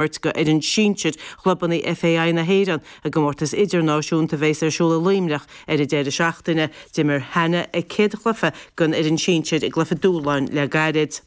Imirt go fhoireann sinsir chlubanna FAI na hÉireann i gcomórtas idirnáisiúnta a bheas ar siúl i Luimneach ar an deireadh seachtaine. D'imir Hannah a céad chluiche don fhoireann sinsir i gcluiche dúshláin le gairid.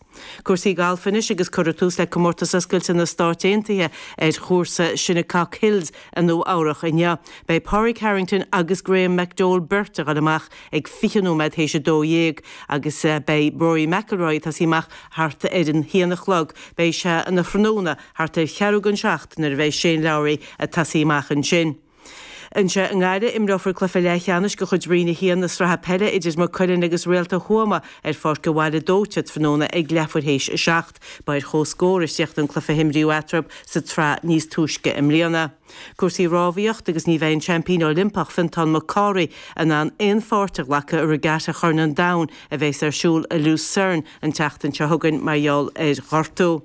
Cúrsaí gailf anois agus cuirfear tús le Comórtas Oscailte na Stáit Aontaithe ar chúrsa Shinnecock Hills i Nua Eabhrach inniu. Beidh Pádraig Harrington agus Graham McDowell beirt ag dul amach ag 20 nóiméad théis 12 agus beidh Rory McIlroy ag tosaí amach thart ar an haon a chlog. Beidh sé ina thráthnóna thart ar cheathrú don seacht nuair a bheidh Shane Lowry ag tosaí amach ansin. Anseo i nGaillimh, imreofar cluiche leathcheannais de chuid Roinn 1 na Sraithe Peile idir Maigh Cuilinn agus Réalta Thuama ar Pháirc an Bhaile Dóite tráthnóna ag leathuair théis a seacht. Ba ar comhscór a chríochnaigh an cluiche a himríodh eatarthu sa tsraith níos túisce i mbliana. Cúrsaí rámhaíocht agus ní bheidh an seaimpín Oilimpeach Fiontán Mac Cárthaigh in ann aon pháirt a ghlacadh i Regatta Chorn an Domhain a bheas ar siúl i Lucerne an tseachtain seo chugainn mar gheall ar ghortú.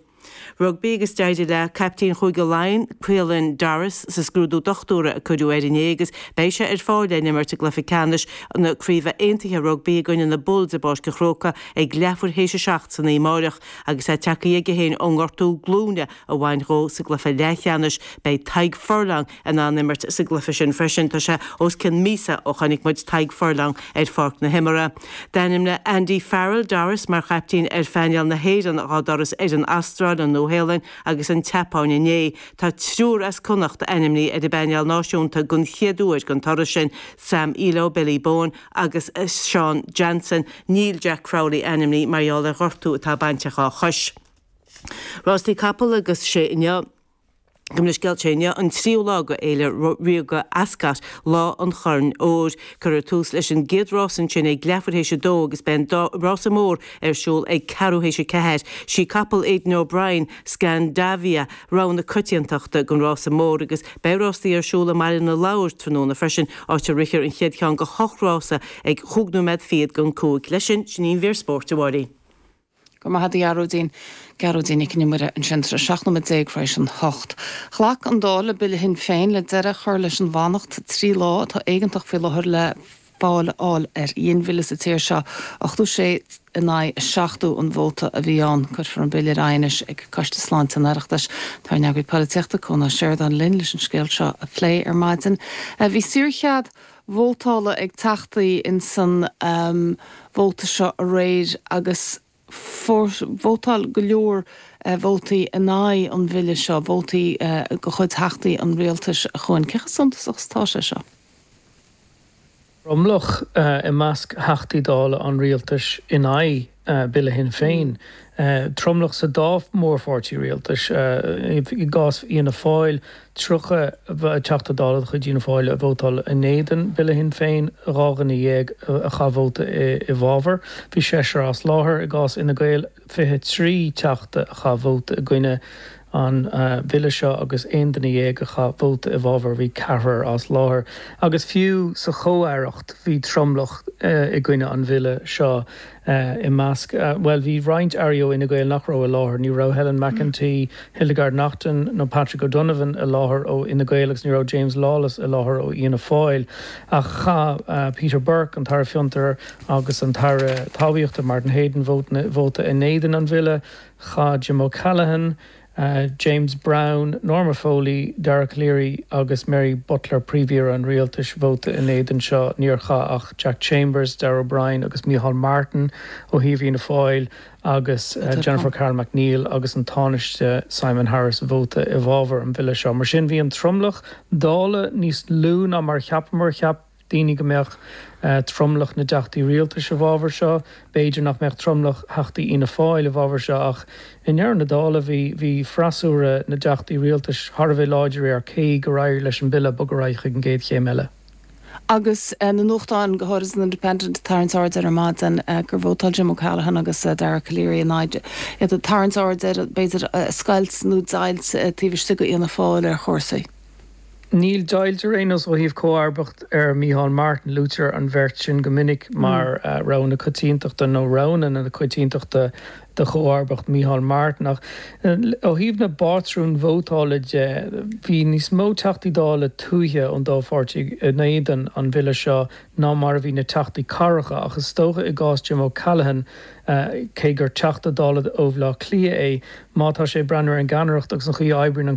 Rugbaí agus d'éirigh le caiptín Chúige Laighean, Caelan Doris, sa scrúdú dochtúra a cuireadh air inné agus beidh sé ar fáil le n-imirt i gcluiche ceannais na Craoibhe Aontaithe Rugbaí i gcoinne na Bulls i bPáirc an Chrócaigh ag leathuair théis a 7 san oíche amáireach. Agus é tagtha aige féin ón ngortú glúine a bhain dhó sa gcluiche leathcheannais, beidh Tadhg Furlong in ann imirt sa gcluiche sin freisin. Tá sé os cionn míosa ó chonaic muid Tadhg Furlong ar pháirc na himeartha. D'ainmnigh Andy Farrell Doris mar chaiptín ar phainéal na hÉireann dhá dturas ar an Astráil, an Nua-Shéalainn agus an tSeapáin inné. Tá triúr as Connacht ainmnithe ar an bpainéal náisiúnta den chéad uair don turas sin, Sam Illo, Billy Bowen agus Sean Jansen. Níl Jack Crowley ainmnithe mar gheall ar ghortú atá bainte dhá chois. Rástaí capall agus sé inniu. Gabh mo leithscéal, sé inniu an tríú lá de Fhéile Ríoga Ascot, Lá an Chorn Óir. Cuirfear tús leis an gcéad rás ansin ag leathuair théis a dó agus beidh an rása mór ar siúl ag ceathrú théis a ceathair. Sí capall Aidan O'Brien, Scandavia, rogha na coitiantachta don rása mór agus beidh rástaí ar siúl i mBaile na Lobhar tráthnóna freisin, áit a rithfear an chéad cheann de hocht rása ag chúig nóiméad fichead don cúig. Leis sin, sin í an mhír spóirt, a Mháirín. Go raibh maith agat a Ghearóidín. Gearóidín Nic Con Iomaire ansin tar éis 17 nóiméad tar éis an hocht. Ghlac an Dáil le Bille Shinn Féin le deireadh a chur leis an bhfanacht 3 lá atá éigeantach faoi láthair le fáil a fháil ar ghinmhilleadh sa tír seo. 86 in aghaidh 70 an vóta a bhí ann. Cuirfear an Bille ar aghaidh anois ag Coiste Sláinte an Oireachtais. Tá ár n-eagraí polaitíochta, Cuan Ó Seireadáin linn leis an scéal seo a phlé ar maidin. Bhí saorchead vótála ag teachtaí insan vóta seo aréir agus vótáil go leor vótaí in aghaidh an bhille seo, vótaí de chuid theachtaí an rialtais, a Chuain. Cé chomh suntasach is atá sé seo? Tromlach i measc Theachtaí Dála an rialtais in aghaidh Bille Shinn Féin. Tromlach sa dá mhórpháirtí rialtais. I gcás Fhianna Fáil, 30 Teachta Dála de chuid Fhianna Fáil a vótáil in éadan Bille Shinn Féin, 12 dhuine a chaith vóta i bhfabhar. Bhí seisear as láthair. I gcás Fhine Gael, 23 Teachta a chaith vóta i gcoinne an bhille seo agus 11 duine a chaith vóta i bhfabhar, bhí ceathrar as láthair. Agus fiú sa chomh-aireacht bhí tromlach i gcoinne an bhille seo i measc, bhuel, bhí roinnt airí ó Fhine Gael nach raibh i láthair. Ní raibh Helen McEntee, Hildegarde Naughton nó Patrick O'Donovan i láthair ó Fhine Gael agus ní raibh James Lawless i láthair ó Fhianna Fáil. Ach chaith Peter Burke, an tAire Fiontar agus an tAire Talmhaíochta Martin Heydon vóta in éadan an bhille. Chaith Jim O'Callaghan, James Browne, Norma Foley, Dara Calleary agus Mary Butler, Príomh-Aoire an Rialtais, vóta in éadan seo. Níor chaith ach Jack Chambers, Darragh O'Brien agus Micheál Martin ó thaobh Fhianna Fáil agus Jennifer Carroll MacNeill agus an Tánaiste Simon Harris vóta i bhfabhar an bhille seo. Mar sin bhí an tromlach Dála níos lú ná mar a cheapamar. Cheap daoine go mbeadh tromlach na dteachtaí rialtais i bhfabhar seo. B'fhéidir nach mbeadh tromlach theachtaí Fhianna Fáil i bhfabhar seo ach i ndeireadh na dála bhí bhí freasúra na dteachtaí rialtais thar a bheith láidir air cé gur éirigh leis an bille bogadh ar aghaidh chuig an gcéad chéim eile. Agus na nuachtáin, go háirid an Independent, ag tarraingt aird ar ar maidin gur vótáil Jim O'Callaghan agus Dara Calleary in aghaidh, iad ag tarraingt aird ar, b'fhéidir, scoilt nó deighilt taobh istigh de Fhianna Fáil ar chúrsaí. Níl deighilt ar aon nós ó thaobh comharbacht ar Micheál Martin. Luaitear an bheirt sin go minic mar rogha na coitiantachta nó roghanna na coitiantachta do chomharbacht Micheál Martin. Ach ó thaobh na bpátrún vótála de, bhí níos mó Teachtaí Dála tuaithe ón dá pháirtí in éadan an bhille seo ná mar a bhí na Teachtaí cathracha. Ach is dócha i gcás Jim O'Callaghan, cé gur Teachta Dála ó Bhaile Átha Cliath é, má tá sé ag breathnú ar an gceannaireacht agus an chaoi a oibríonn an.